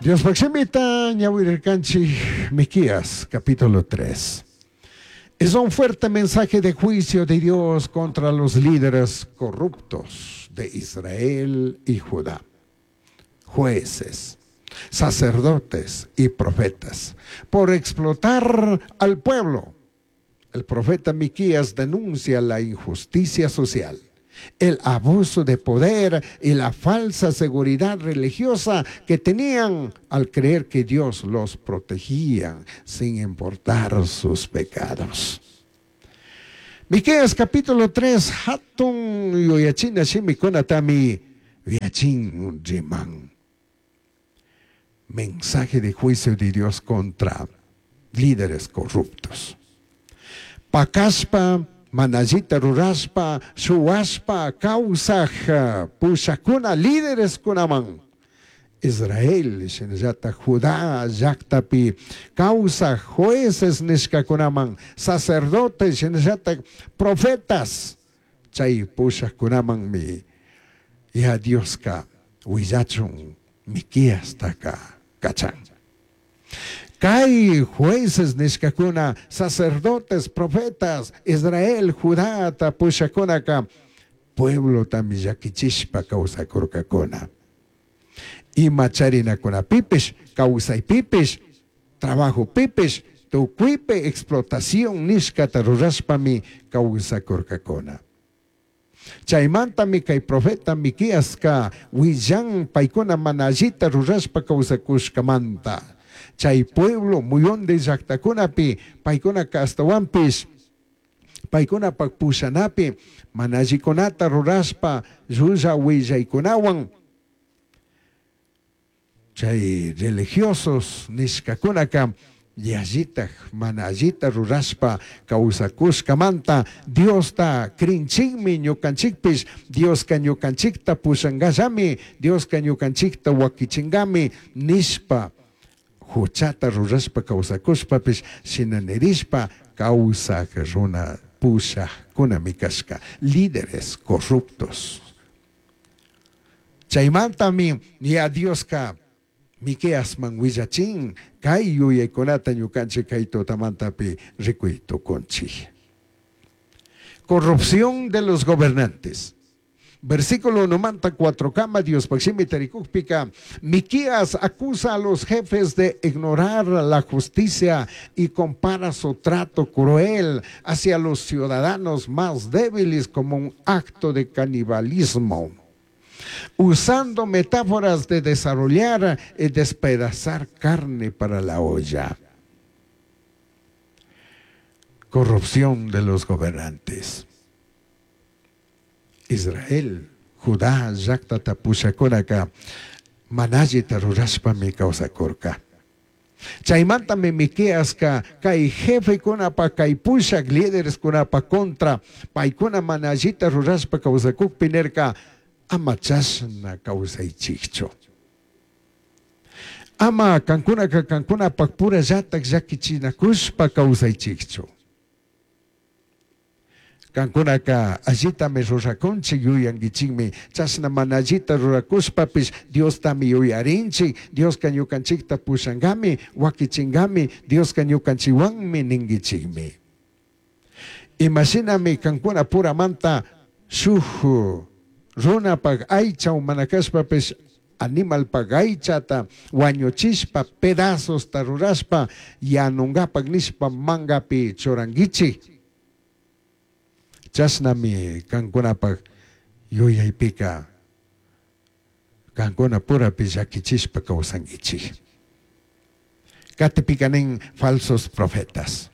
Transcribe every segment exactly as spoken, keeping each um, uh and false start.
Diospaj shimita ñawirircanchij Miqueas capítulo tres. Es un fuerte mensaje de juicio de Dios contra los líderes corruptos de Israel y Judá, jueces, sacerdotes y profetas, por explotar al pueblo. El profeta Miqueas denuncia la injusticia social, el abuso de poder y la falsa seguridad religiosa que tenían al creer que Dios los protegía sin importar sus pecados. Miqueas capítulo tres, hatun yuyachina shimikunatami yuyachin riman. Mensaje de juicio de Dios contra líderes corruptos. Pacashpa, mana allita rurashpa, shuwashpa, causaj, pushakuna, líderes kunaman. Israel, shinallata Judá llaktapi, causaj, jueces nishkakunaman, sacerdotes, shinallata profetas, chay pushakkunamanmi, ya Dioska willachun Miqueastaka kachan. Kay jueces nishkakuna, sacerdotes, profetas, Israel, Judá pushakunaka, pueblo tami llakichishpa kawsakurkakuna. Ima charinakunapipish, kawsaypipish, trabajopipish, tukuypi explotación nishkata rurashpami kawsakurkakuna. Chaymantami kay profeta Miqueaska willan paykuna mana allita rurashpa kawsakushkamanta. Chay pueblo muyundi llaktakunapi paykunaka ashtawanpish paykunapak pushanapi mana allikunata rurashpa llulla willaykunawan chay religiosos nishkakunaka yallitaj mana allita rurashpa kawsakushkamanta Diosta crinchikmi ñukanchikpish, Dioska ñukanchikta pushangallami, Dioska ñukanchikta wakichingami nishpa huchata rurashpa kawsakushpapish shina nirishpa kawsaj runa pushajkunami kashka, líderes corruptos. Chaymantami ya Dioska Miqueasman willachin kay yuyaykunata ñukanchik kay tutamantapi rikuy tukunchik. Corrupción de los gobernantes. Versículo unomanta cuatro kama Dios shimi tarikukpika, Miqueas acusa a los jefes de ignorar la justicia y compara su trato cruel hacia los ciudadanos más débiles como un acto de canibalismo, usando metáforas de desarrollar y despedazar carne para la olla. Corrupción de los gobernantes. Israel, Judá, llaktata pushakunaka, mana allita rurashpami kawsakurka. Chaymantami Miqueaska kay jefekunapa, kay pushak lídereskunapa contra, paykuna mana allita rurashpa kawsakukpi nirka, ama chashna kawsaychikchu. Ama kankunaka kankunapak pura llatak llakichinakushpa kawsaychikchu. Kankunaka allitami rurakunchik yuyankichikmi, chashna mana allita rurakushpapish Diostami yuyarinchik, Dioska ñukanchikta pushankami, wakichinkami, Dioska ñukanchikwanmi ninkichikmi. Imashinami kankuna puramanta shuk runapak aycha mana kashpapish animalpak aychata wañuchishpa pedazosta rurashpa yanunkapak nishpa mangapi churankichik. Chashnami kankunapak yuyaypika kankuna purapi llakichishpa kawsankichik. Katipika nin falsos profetas.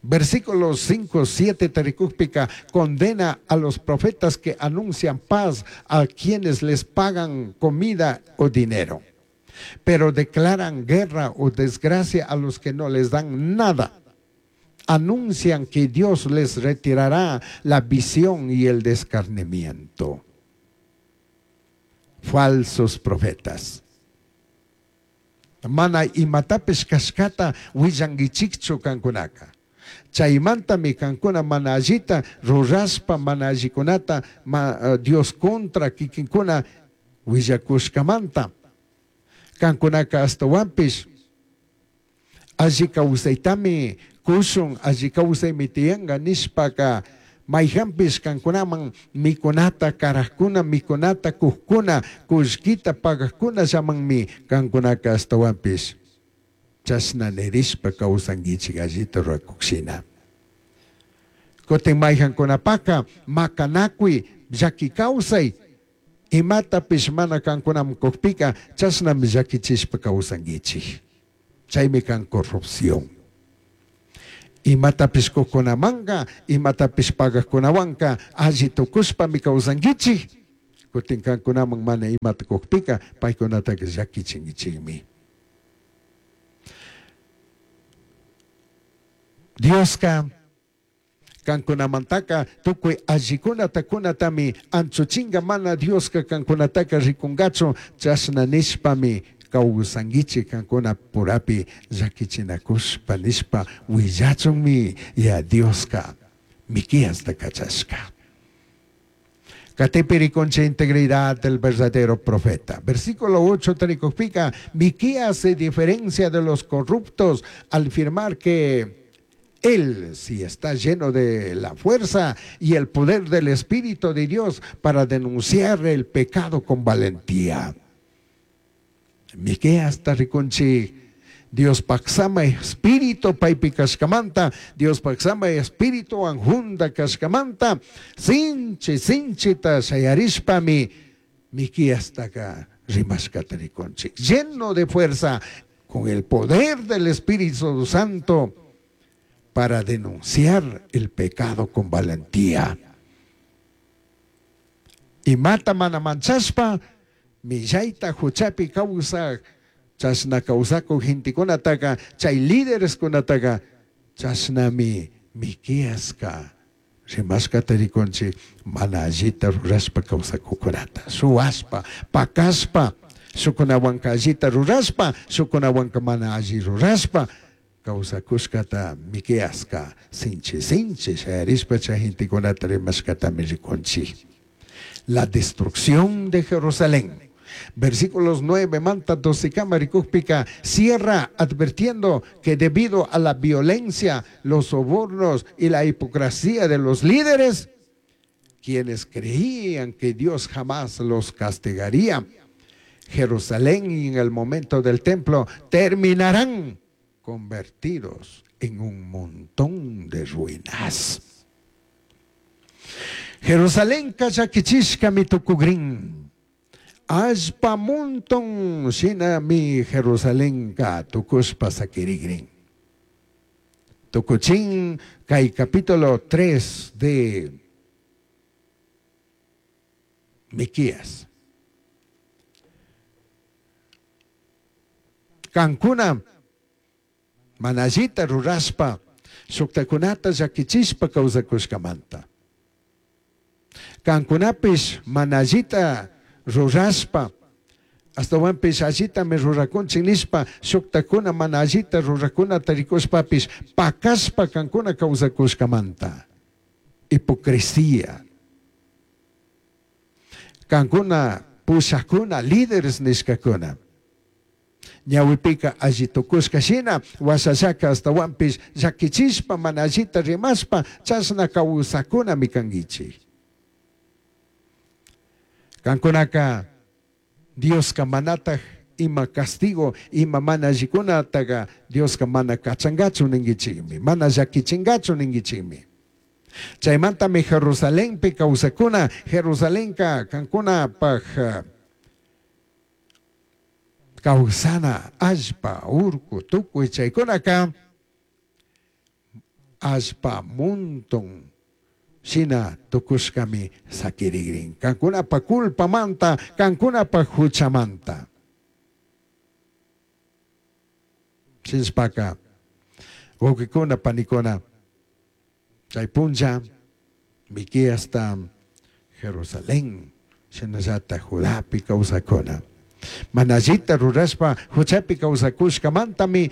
Versículos cinco, siete tarikukpika condena a los profetas que anuncian paz a quienes les pagan comida o dinero, pero declaran guerra o desgracia a los que no les dan nada. Anuncian que Dios les retirará la visión y el discernimiento. Falsos profetas. Mana imatapish kashkata willankichikchu kankunaka. Chaymantami kankuna mana allita rurashpa mana allikunata ma, Dios contra kikinkuna willakushkamanta. Kankunaka ashtawanpish alli kawsaytami kushun, alli kawsaymi tiyanka nishpaka mayhanpish kankunaman mikunata karajkuna, mikunata kujkuna, kullkita pagajkunallamanmi kankunaka ashtawanpish chashna nirishpa kawsankichik allita rurakushina. Kutin mayhankunapaka makanakuy llaki kawsay imatapish mana kankunaman kujpika chashnami llakichishpa kawsankichik. Chaymi kan corrupción. Imatapish kujkunamanka, imatapish pagajkunawanka alli tukushpami kawsankichik. Kutin kankunaman mana imata kujpika paykunataka llakichinkichikmi. Dioska kankunamantaka tukuy allikunata kunatami anchuchinga, mana Dioska kankunataka rikungachu chashna nishpami kawsankichik kankuna purapi llakichinakushpa nishpa willachunmi ya Dioska Miqueasta kachashka. Katipi rikunchik integridad del verdadero profeta. Versículo ocho tarikujpika, Miqueas se diferencia de los corruptos al afirmar que él sí está lleno de la fuerza y el poder del Espíritu de Dios para denunciar el pecado con valentía. Miqueas rikunchik Dios paksama espíritu paypi kashkamanta, Dios paksama espíritu anjunda kashkamanta, sinchi sinchita shayarishpami Miqueastaka rimashkata rikunchik, lleno de fuerza con el poder del Espíritu Santo para denunciar el pecado con valentía. Imata mana manchashpa millayta huchapi kawsaj chashna kawsakuq gentekunataka chay lídereskunataka chashnami Miqueaska rimashkata rikunchik mana allita rurashpa kawsakuqkunata, suwashpa, pakashpa, shukunawanka allita rurashpa, shukunawanka mana alli rurashpa kawsakushkata Miqueaska sinchi sinchi shayarishpa chay gentekunata rimashkatami rikunchik. La destrucción de Jerusalén. Versículos nueve manta doce kama rikujpika cierra advirtiendo que debido a la violencia, los sobornos y la hipocresía de los líderes, quienes creían que Dios jamás los castigaría, Jerusalén y en el momento del templo terminarán convertidos en un montón de ruinas. Jerusalén kachakichishka mitukugrin. Allpa montón shina mi Jerusalén ka tukushpa sakirigrin. Tukuchin kay capítulo tres de Miqueas. Kankuna manallita rurashpa shuktakunata llakichishpa kawsakushkamanta. Kankunapish manallita rurashpa ashtawanpish allitami rurakunchik nishpa shuktakuna mana allita rurakunata rikushpapish pakashpa kankuna kawsakushkamanta. Hipocresía. Kankuna pushakuna líderes nishkakuna ñawipika alli tukushka shina washallaka ashtawanpish llakichishpa mana allita rimashpa chashna kawsakunami kankichik. Kankunaka Dioska manataj ima castigo ima mana allikunataka Dioska mana kachangachu ninkichikmi, mana llakichingachu ninkichikmi. Chaymantami Jerusalenpi kawsakuna, Jerusalenka kankunapaj kawsana allpa urku tukuy chaykunaka allpa montón shina tukushkami sakirigrin. Kankunapa culpamanta, kankunapa huchamanta. Shinshpaka wawqikuna panikuna chay punlla Miqueasta Jerusalén shinallata Judapi kawsakuna. Mana allita rurashpa huchapi kawsakushkamantami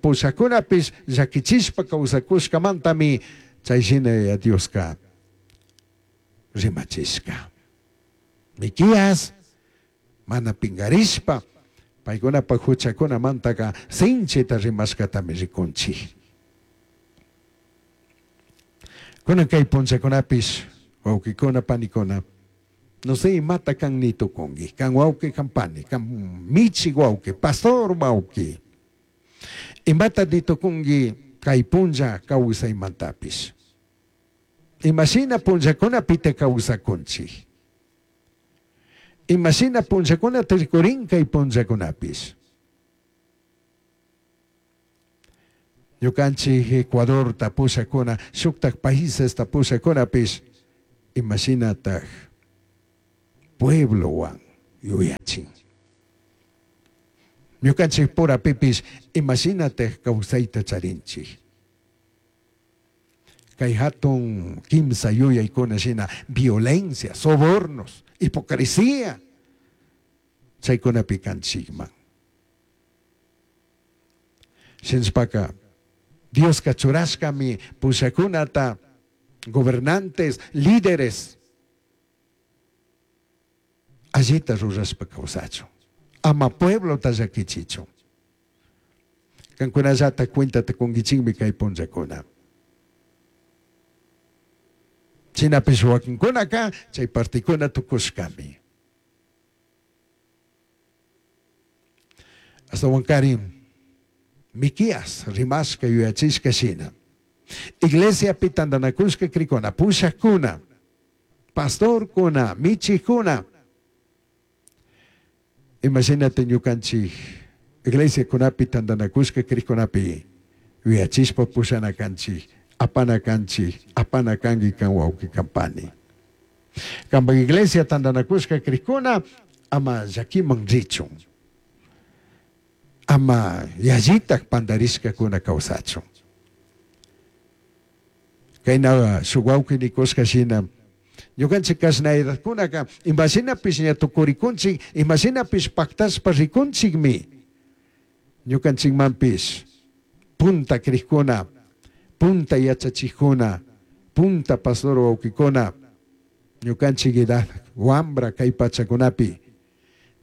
pushakunapish llakichishpa kawsakushkamantami chay shina Dioska rimachishka. Miqueas mana pingarishpa Paykunapaq huchakunamantaka sinchita rimashkatami rikunchik. Kunan kay punchakunapish wawqikuna panikuna, no sé imata kan ni tukunki, kan wawqi kan pani, kan michi wawqi, pastor wawqi. Imata ni tukunki kay punlla kawsaymantapish. Imashina punllakunapita kawsakunchik. Imashina punllakunata rikurin kay punllakunapish. Ñukanchik Ecuador tapushakuna, shuktak países tapushakunapish, imashinatak pueblowan yuyachin. Ñukanchik purapipish imashinatak kawsayta charinchik. Kay hatun kimsa yuyaykuna shina violencia, sobornos, hipocresía, chaykunapi kanchikman. Shinashpaka Dioska churashkami pushakunata, gobernantes, líderes, allita rurashpa kawsachun, ama pueblota llakichichun. Kankunallata cuentata kunkichikmi kay punllakuna. Shinapish wakinkunaka chay partikuna tukushkami. Ashtawankarin Miquías rimashka yuyachishka shina. Iglesiapi tantanakushka krikuna, pushakuna, pastorkuna, michikuna. Imagínate ñukanchik iglesiakunapi tantanakushka krikunapi yuyachishpa pushana kanchik, apana kanchik, apana kanki kan wawqi kan pani. Kanpak iglesia tantanakushka krikuna ama llakiman richun. Ama yallitak pandarishkakuna kawsachun. Kayna shuk wawqi nikushka shina, ñukanchik kashna edadkunaka imashinapish ña tukurikunchik, imashinapish paktashpa rikunchikmi. Ñukanchikmanpish punta krikuna, punta yachachikuna, punta pastor wawqikuna, ñukanchik edad wambra kay pachakunapi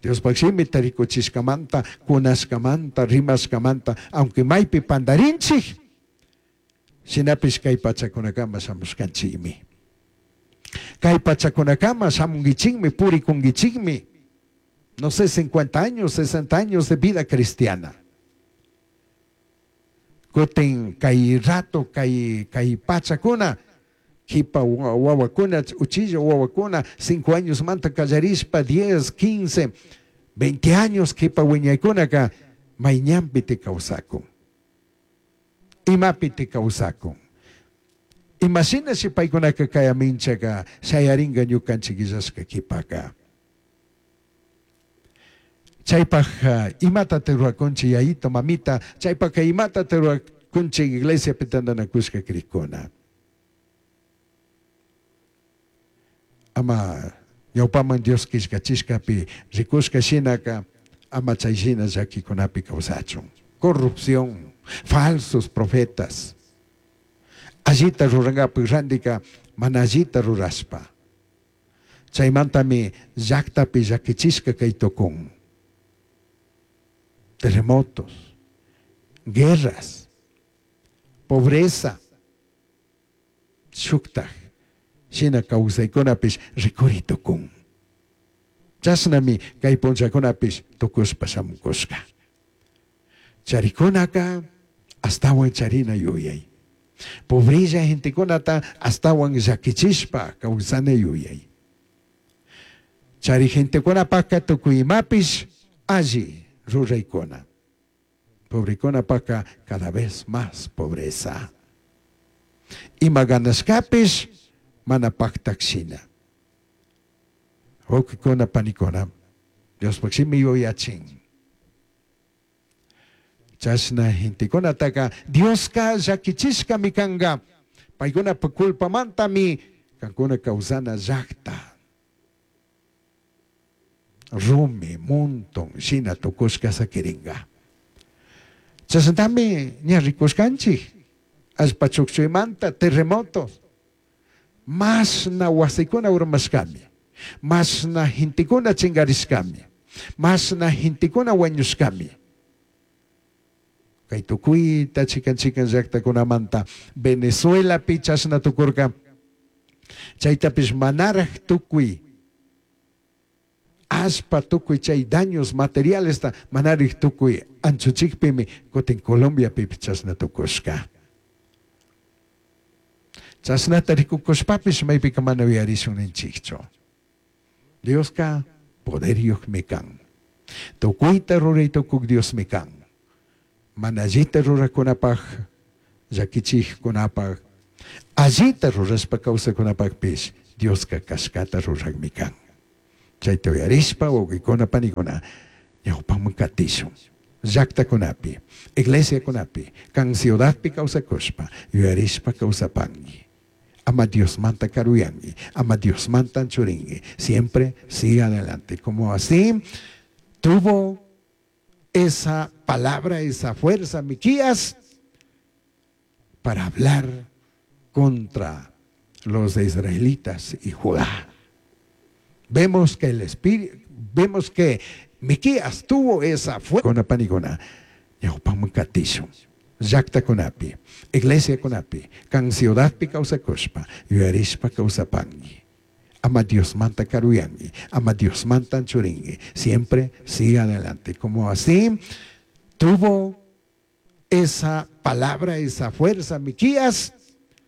Diospaq shimita rikuchishkamanta, kunashkamanta, rimashkamanta, aunque maypi pandarinchik, shinapish kay pachakunakama shamushkanchikmi. Kay pachakunakama shamunkichikmi, purikunkichikmi. No sé, cincuenta años, sesenta años de vida cristiana. Kutin kay rato, kay, kay pachakuna, kipa wawakuna, uchilla wawakuna, cinco años manta kallarishpa, diez, quince, veinte años kipa wiñaykunaka, mayñanpi te kawsakun. Imapi te kawsakun. Imashina si paykunaka kayaminchaka, shayaringa ñukanchik illashka kipaka. Chaypaj imata te ruwakunchik yayito, mamita, chaypajka imata te ruwakunchik iglesiapi tantanakushka krikuna. Ama ñawpaman Dios killkachishkapi rikushka shinaka, ama chay shina llakikunapi kawsachun. Corrupción, falsos profetas. Allita rurankapak randika mana allita rurashpa. Chaymantami llaktapi llakichishka kay tukun. Terremotos, guerras, pobreza, shuktaj shina kawsaykunapish rikuri tukun. Chashnami kay punllakunapish tukushpa shamukushka. Charikunaka astawan charina yuyay. Pobrilla gentekunata astawan llakichishpa kawsana yuyay. Chari gentekunapaka tukuy imapish alli ruraykuna. Pobrekunapaka cada vez más pobreza. Ima ganashkapish mana paktakshina. Wawqikuna panikuna, Diospaq shimi yuyachin. Chashna gentekunataka Dioska llakichishkami kanka. Paykunapa culpamantami kankuna kawsana llakta. Rumi, monton, shina tukushka sakiringa. Chashnatami ña rikushkanchik. Allpa chukchuymanta terremotos. Mashna wasikuna urmashkami. Mashna gentekuna chinkarishkami. Mashna gentekuna wañushkami. Kay tukuyta chikan chikan llaqtakunamanta Venezuelapi chashna tukurka. Chaytapish manaraj tukuy allpa tukuy chay daños materialesta manaraj tukuy anchuchikpimi kutin Colombiapipish chashna tukushka. Chashnata rikukushpapish maypika mana uyarishun ninchikchu. Dioska poderyuqmi kan. Tukuyta ruray tukuk Diosmi kan. Mana allita rurakunapaj, llakichikkunapaj, allita rurashpa kawsakunapajpish Dioska kashkata rurakmi kan. Chayta uyarishpa wawqikuna panikuna ñawpaman katishun. Llaqtakunapi, iglesiakunapi, kan ciudadpi kawsakushpa, yuyarishpa kawsapanki. Ama Diosmanta karuyanki, ama Diosmanta anchurinki. Siempre siga adelante. Como así tuvo esa palabra, esa fuerza Miquías para hablar contra los israelitas y Judá. Vemos que el espíritu, vemos que Miquías tuvo esa fuerza. Panikuna, ñawpaman katishun. Llaqtakunapi, iglesiakunapi, kan ciudadpi kawsakushpa, yuyarishpa kawsapanki. Ama Diosmanta karuyanki, ama Diosmanta anchurinki. Siempre siga adelante. Como así tuvo esa palabra, esa fuerza Miquías